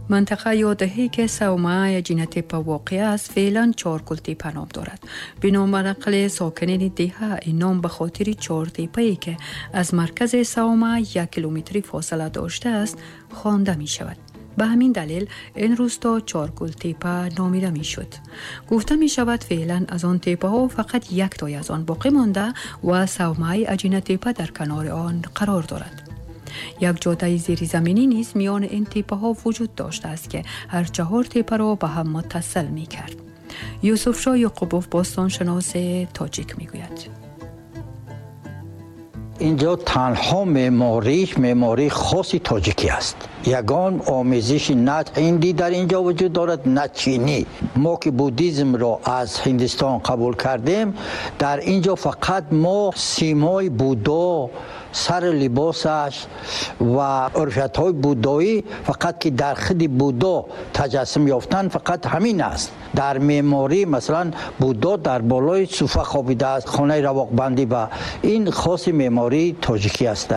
منطقه یا دهه‌ای که صومعه اجینه تپه واقع است، فعلا چهارگل تپه نام دارد. بنا نقل ساکنین دهه، این نام به خاطر چهار تپه‌ای که از مرکز صومعه 1 کیلومتری فاصله داشته است خوانده می شود. به همین دلیل این روستا چارگل تیپه نامیده می شد. گفته می شود فعلا از آن تیپه ها فقط یک تای از آن باقی مانده و صومعه اجینه تیپه در کنار آن قرار دارد. یک جاده زیرزمینی نیز میان این تیپه ها وجود داشته است که هر چهار تیپه را به هم متصل می کرد. یوسف شاه یعقوبوف، باستان شناس تاجیک، می گوید: Инҷо танҳо меъмориш меъмории хоси тоҷикӣ аст. Ягон омезиши на ҳиндӣ дар инҷо вуҷуд дорад, на чинӣ. Мо ки буддизмро аз Ҳиндистон қабул кардем, дар инҷо фақат мо симои Буддо, сари либосаш ва урфиятҳои буддоӣ фақат ки дар худи Буддо таҷассум ёфтанд, фақат ҳамин аст. Дар меъморӣ, масалан, Буддо дар болои суфа хобидааст, хонаи равоқбандӣ ба ин хоси меъмории тоҷикӣ аст.